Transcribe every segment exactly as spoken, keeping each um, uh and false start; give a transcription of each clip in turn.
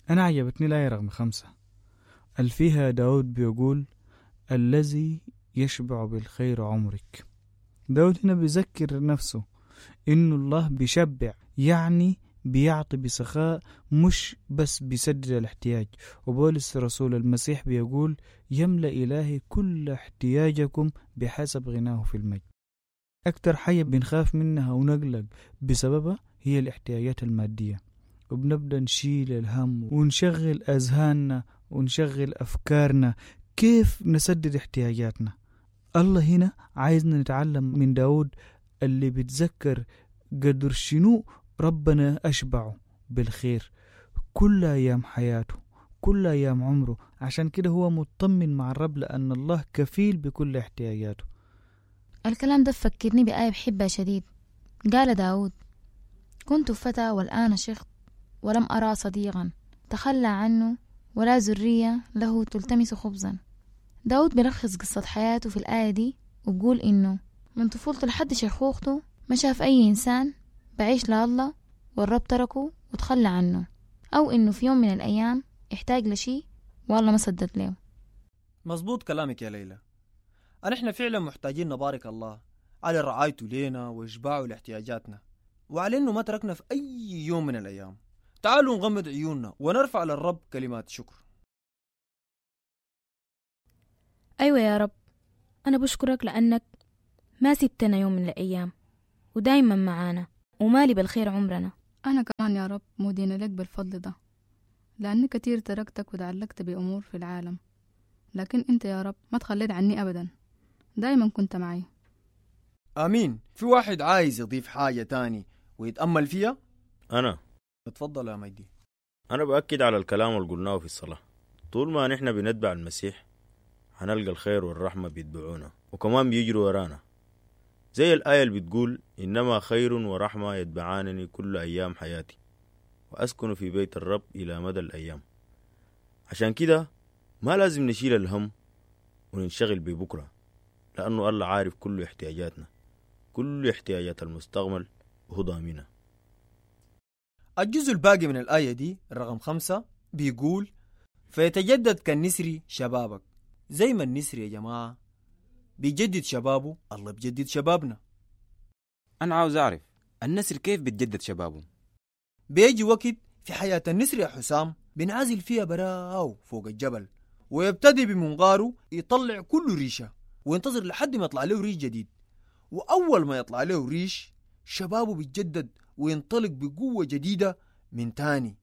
أنا عجبتني الآية رقم خمسة اللي فيها داود بيقول الذي يشبع بالخير عمرك. داود هنا بيذكر نفسه إنه الله بيشبع، يعني بيعطي بسخاء، مش بس بيسدد الاحتياج. وبولس رسول المسيح بيقول يملأ إلهي كل احتياجكم بحسب غناه في المجد. أكتر حاجة بنخاف منها ونقلق بسببها هي الاحتياجات المادية، وبنبدأ نشيل الهم ونشغل أذهاننا ونشغل أفكارنا كيف نسدد احتياجاتنا. الله هنا عايزنا نتعلم من داود اللي بيتذكر قدر شنو ربنا أشبعه بالخير كل أيام حياته، كل أيام عمره. عشان كده هو مطمن مع الرب لأن الله كفيل بكل احتياجاته. الكلام ده فكرني بآية بحبها شديد. قال داود كنت فتى والآن شيخ ولم أرى صديقا تخلى عنه ولا ذرية له تلتمس خبزا. داود بيلخص قصة حياته في الآية دي وبقول إنه من طفولته لحد شيخوخته ما شاف أي إنسان بعيش لله والرب تركه وتخلى عنه، أو إنه في يوم من الأيام احتاج لشي والله ما سدد له. مظبوط كلامك يا ليلى. نحن فعلا محتاجين نبارك الله على رعايته لينا وإشباعه لاحتياجاتنا، وعلى إنه ما تركنا في أي يوم من الأيام. تعالوا نغمض عيوننا ونرفع للرب كلمات شكر. أيوة يا رب، أنا بشكرك لأنك ما سبتنا يوم من الأيام ودايما معانا ومالي بالخير عمرنا. أنا كمان يا رب مدينة لك بالفضل ده، لأني كتير تركتك وتعلقت بأمور في العالم، لكن أنت يا رب ما تخليت عني أبدا، دايما كنت معي. آمين. في واحد عايز يضيف حاجة تاني ويتأمل فيها؟ أنا. اتفضل يا مجدي. أنا بأكد على الكلام اللي قلناه في الصلاة. طول ما نحن بنتبع المسيح هنلقى الخير والرحمة بيتبعونا وكمان بيجروا ورانا، زي الآية اللي بتقول إنما خير ورحمة يتبعانني كل أيام حياتي وأسكن في بيت الرب إلى مدى الأيام. عشان كده ما لازم نشيل الهم وننشغل ببكرة، لأنه الله عارف كل احتياجاتنا، كل احتياجات المستقبل وهو ضامنها. الجزء الباقي من الآية دي رقم خمسة بيقول فيتجدد كالنسر شبابك. زي ما النسر يا جماعة بيجدد شبابه، الله بيجدد شبابنا. أنا عاوز أعرف النسر كيف بتجدد شبابه؟ بيجي وقت في حياة النسر يا حسام بنعزل فيها براو فوق الجبل، ويبتدي بمنقاره يطلع كل ريشة وينتظر لحد ما يطلع له ريش جديد. وأول ما يطلع له ريش شبابه بيتجدد وينطلق بقوة جديدة من تاني.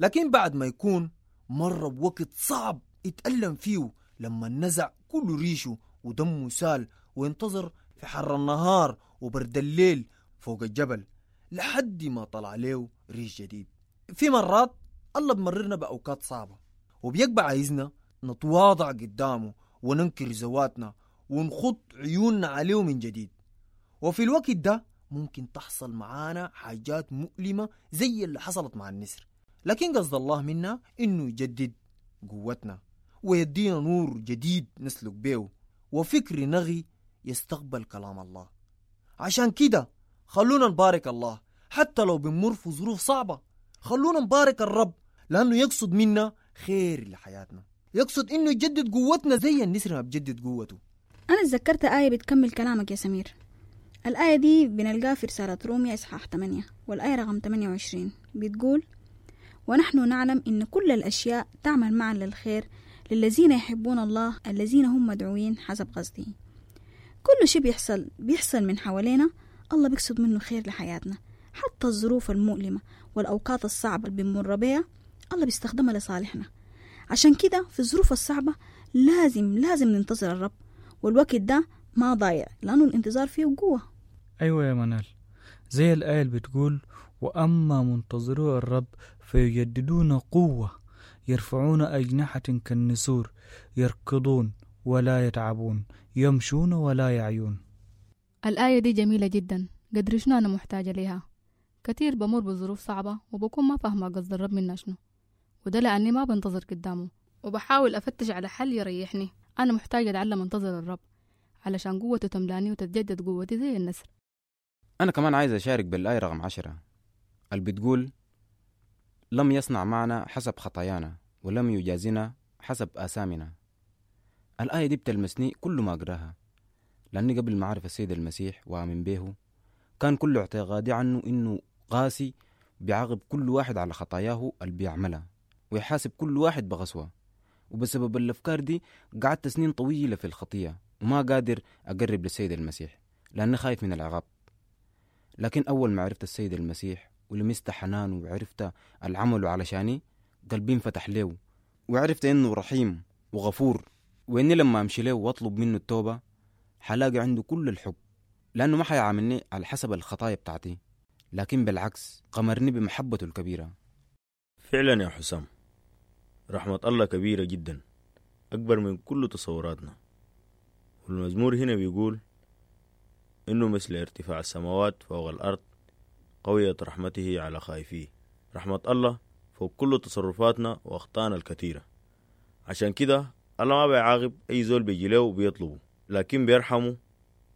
لكن بعد ما يكون مر بوقت صعب يتألم فيه لما نزع كل ريشه ودمه سال، وينتظر في حر النهار وبرد الليل فوق الجبل لحد ما طلع له ريش جديد. في مرات الله بمررنا بأوقات صعبة وبيقبع عايزنا نتواضع قدامه وننكر ذواتنا ونخط عيوننا عليه من جديد. وفي الوقت ده ممكن تحصل معانا حاجات مؤلمة زي اللي حصلت مع النسر، لكن قصد الله منا إنه يجدد قوتنا ويدينا نور جديد نسلك بيه وفكر نغي يستقبل كلام الله. عشان كده خلونا نبارك الله حتى لو بنمر في ظروف صعبة. خلونا نبارك الرب لأنه يقصد منا خير لحياتنا، يقصد إنه يجدد قوتنا زي النسر ما بجدد قوته. أنا اتذكرت آية بتكمل كلامك يا سمير. الآية دي بنلقاها في رسالة روميا إصحاح ثمانية والآية رقم ثمانية وعشرين، بتقول ونحن نعلم إن كل الأشياء تعمل معا للخير للذين يحبون الله الذين هم مدعوين حسب قصده. كل شيء بيحصل بيحصل من حوالينا الله بيقصد منه خير لحياتنا، حتى الظروف المؤلمة والأوقات الصعبة اللي بنمر بيها الله بيستخدمها لصالحنا. عشان كده في الظروف الصعبة لازم لازم ننتظر الرب، والوقت ده ما ضايع لأنه الانتظار فيه قوة. أيوة يا منال، زي الآية اللي بتقول وأما منتظرو الرب فيجددون قوة يرفعون أجنحة كالنسور يركضون ولا يتعبون يمشون ولا يعيون. الآية دي جميلة جدا، قدر شنو أنا محتاجة ليها. كتير بمر بظروف صعبة وبكون ما فاهمة قصد الرب منا شنو، وده لأني ما بنتظر قدامه وبحاول أفتش على حل يريحني. أنا محتاجة أتعلم أنتظر الرب علشان قوته تملاني وتتجدد قوتي زي النسر. أنا كمان عايز أشارك بالآية رقم عشرة اللي بتقول لم يصنع معنا حسب خطايانا ولم يجازنا حسب آثامنا. الآية دي بتلمسني كل ما أقراها، لأني قبل ما أعرف السيد المسيح وآمن به كان كل اعتقادي عنه إنه قاسي، بيعاقب كل واحد على خطاياه اللي بيعملها ويحاسب كل واحد بغسوة. وبسبب الأفكار دي قعدت سنين طويلة في الخطية وما قادر أقرب للسيد المسيح لأني خايف من العقاب. لكن أول ما عرفت السيد المسيح ولمست حنانه وعرفت العمل علشاني، قلبي انفتح له وعرفت إنه رحيم وغفور، وإني لما أمشي له وأطلب منه التوبة حلاقي عنده كل الحب، لأنه ما حيعاملني على حسب الخطايا بتاعتي، لكن بالعكس قمرني بمحبته الكبيرة. فعلا يا حسام، رحمة الله كبيرة جدا، أكبر من كل تصوراتنا. والمزمور هنا بيقول إنه مثل ارتفاع السماوات فوق الأرض قوية رحمته على خائفيه. رحمة الله فوق كل تصرفاتنا وأخطائنا الكثيرة. عشان كده الله ما بيعاقب أي زول بيجي له وبيطلبه، لكن بيرحمه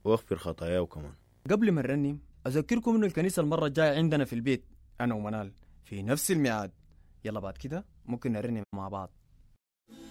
ويغفر خطاياه كمان. قبل ما نرنم أذكركم إنه الكنيسة المرة الجاية عندنا في البيت أنا ومنال في نفس الميعاد. يلا بعد كده ممكن نرنم مع بعض.